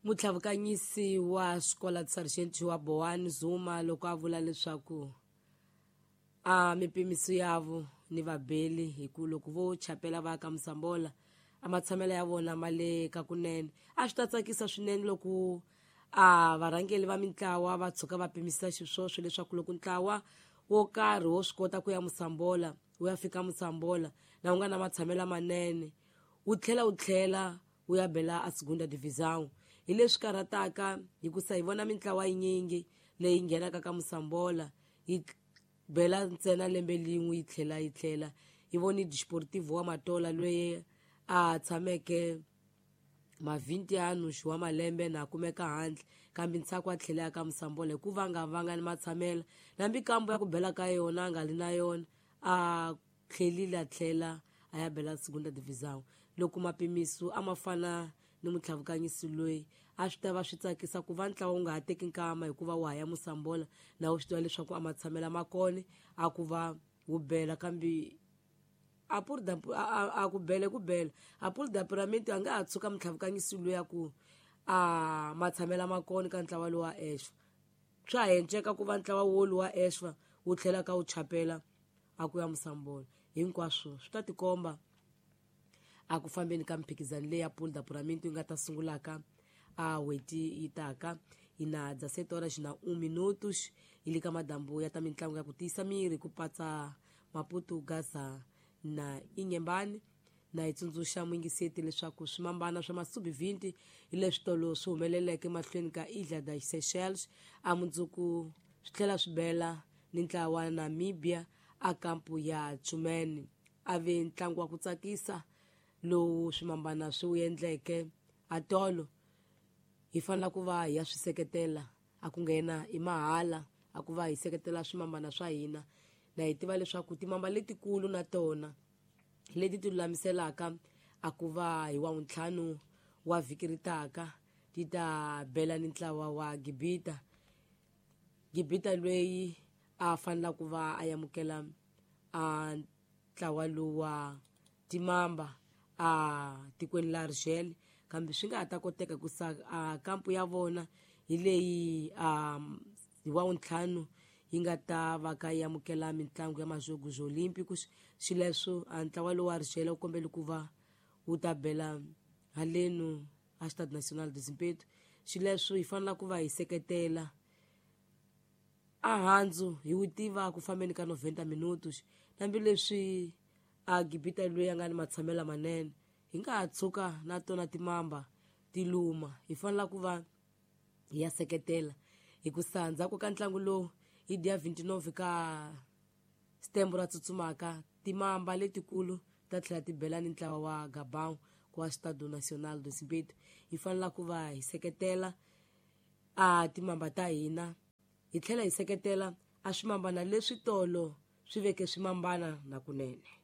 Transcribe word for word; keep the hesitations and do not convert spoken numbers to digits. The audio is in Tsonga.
Mutlhavukanyisi wa Escola de Sargento wa Boane Zuma loko a vula leswaku a mipimiso yavo ni vabeli hi ku loko vo chapela va ka Mosambola a matshamelo ya vona ma le ka kunene. A swi ta tsakisa swinene loko a varhangeli va mintlawa va tshuka va pimisa xiswoswo leswaku loko ntlawa wo karhi wo swi kota ku ya Mosambola wu ya fika Mosambola na wu nga na matshamelo lamanene wu tlhela wu tlhela wu ya bela a Segunda Divisão. Hi leswi karhataka hikusa hi vona mintlawa yinyingi leyi nghenaka ka Mosambola yi bela ntsena lembe lin'we yi tlhela yi tlhela. Hi voni Desportivo wa Matola loyi a tshameke mavhinte anos wa malembe na kumeka handle kambe ntshaku a tlhela ka Mosambola hikuva a nga vanga ni matshamelo nambi kambo ya ku bela ka yona a nga li na yona a tlhelile a tlhela a ya bela Segunda Divisão. Loko mapimiso a ma fana ni mutlhavukanyisi loyi a swi ta va swi tsakisa ku va ntlawa wu nga ha teki nkama hikuva wa ha ya Mosambola na wu swi tiva leswaku a matshamelo ma kona a ku va wu bela kambe a a ku bele ku bela a puri da a nga ha tshuka mutlhavukanyisi loyi a ku a matshamelo ma kona ka ntlawa lowu wa Exfa. Swa ha enceka ku va ntlawa wolu wa Exfa wu tlhela ka wu chapela a ku ya Mosambola. Hinkwaswo swi ta tikomba a ku fambeni ka mphikizano leyi ya Pool da Puramento yi nga ta sungulaka a n'hweti yi taka. Hi na dezessete horas na um minutos hi le ka madambu ya ta mitlangu ya ku tiyisa miri ku patsa Maputo, Gaza na Inhambane. Na hi tsundzuxa muyingiseti leswaku swimambana swa masubi vinte hi leswi tolo swi humeleleke mahlweni ka Ilha das Seychelles a mundzuku swi tlhela swi bela ni ntlawa wa Namibia a kampu ya Tshumene. A ve ntlangu wa ku tsakisa lowu swimambana swi wu endleke a tolo. Hi fanele ku va hi ya swi seketela a ku nghena i mahala a ku va hi seketela swimambana swa hina. Na hi tiva leswaku timamba letikulu na tona leti ti lulamiselaka a ku va hi wa ntlhanu wa vhiki ri taka ti ta bela ni ntlawa wa Gibita. Gibita loyi a fanela ku va a amukela a ntlawa lowu wa timamba a tikweni la Argel kambe swi nga ha ta koteka ku sa a kampu ya vona hi leyi a hi wa ntlhanu yi nga ta va ka yi amukela mitlangu ya Majogos Olímpicos. Xileswo a ntlawa lowu wa Argel wu kombele ku va wu ta bela halenu a Stade National de Zimpeto. Xileswo hi fanele ku va hi seketela a handzu hi wu tiva ku fambeni ka noventa minutos hambileswi a Gibita loyi a nga ni matshamelo lamanene hi nga ha tshuka na tona timamba ti luma. Hi fanele ku va hi ya seketela hikusa ndzhaku ka ntlangu lowu hi dia vinte e nove ka setembro ra tsutsumaka timamba letikulu ta tlhela ti bela ni ntlawa wa Gabon kwa Stade National de Zimpeto. Hi fanele ku va hi seketela a timamba ta hina hi tlhela hi seketela a swimambana leswi tolo swi veke swimambana na kunene.